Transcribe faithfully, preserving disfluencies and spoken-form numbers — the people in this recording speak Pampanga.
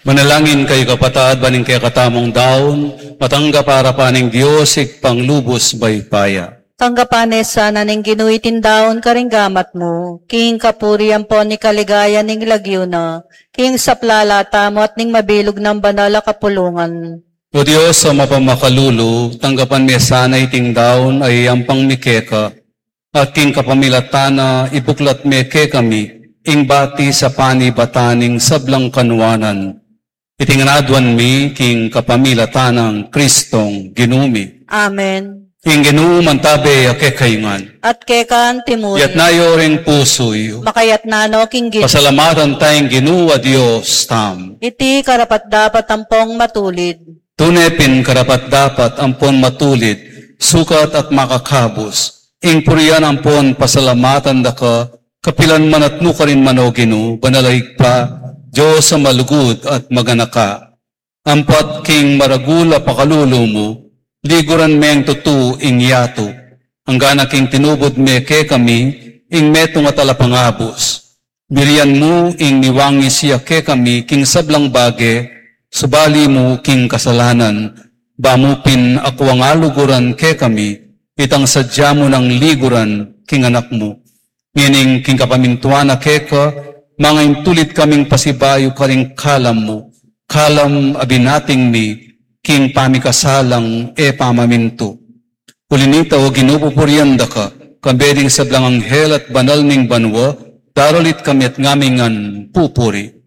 Manalangin kayu, kapatad, ban ing kekatamung daun matanggap arapan ning Dios Ibpang lubus mayupaya. Tanggapan na sana ning Ginu iting daun karing gamat mu, king kapurian ampon ning kaligayan ning lagyu na, king sablang lagyu at ning mabilug nang banal a kapulungan. O Dios a mapamakalulu, tanggapan me sana iting daun a iampang mi keka, at king kapamilatan na ibuklat me kekami ing bati sa panibatan ning sablang kanuanan. Iti ngan aduan mi king kapamilatan nang Kristong Ginu mi. Amen. Ing Ginu mantabe ya kekayu ngan. At keka antimurin. Iyatas yu ring pusu yu. Makayatas no king Ginu. Pasalamatan taya ing Ginu a Dios tamu. Iti karapat-dapat ampon matulid. Tune pin karapat-dapat ampon matulid, sukat at makakabus, ing purian ampon pasalamatan da ka, kapilan man at nukarin man, o Ginu, banal a Ibpa, Dios a malugud at maganaka. Ampat king maragul a pakalulu mu, liguran meng tutu ing yatu. Anggana king tinubud me kekami ing metung a talapangabus. Birian mu ing miwangis ya kekami king sablang bage, subali mu king kasalanan, ba mu pin akuang aluguran kekami, itang sadya mu nang liguran king Anak mu. Ngening king kapamintuan na keka, mangaintulid kaming pasibayu karing kalam mu, kalam a binating mi king pamikasalang e pamamintu. Uli nita, o Ginu, pupurian da ka, kambe ding sablang anghel at banal ning banua, daralit kami at ngamingan pupuri.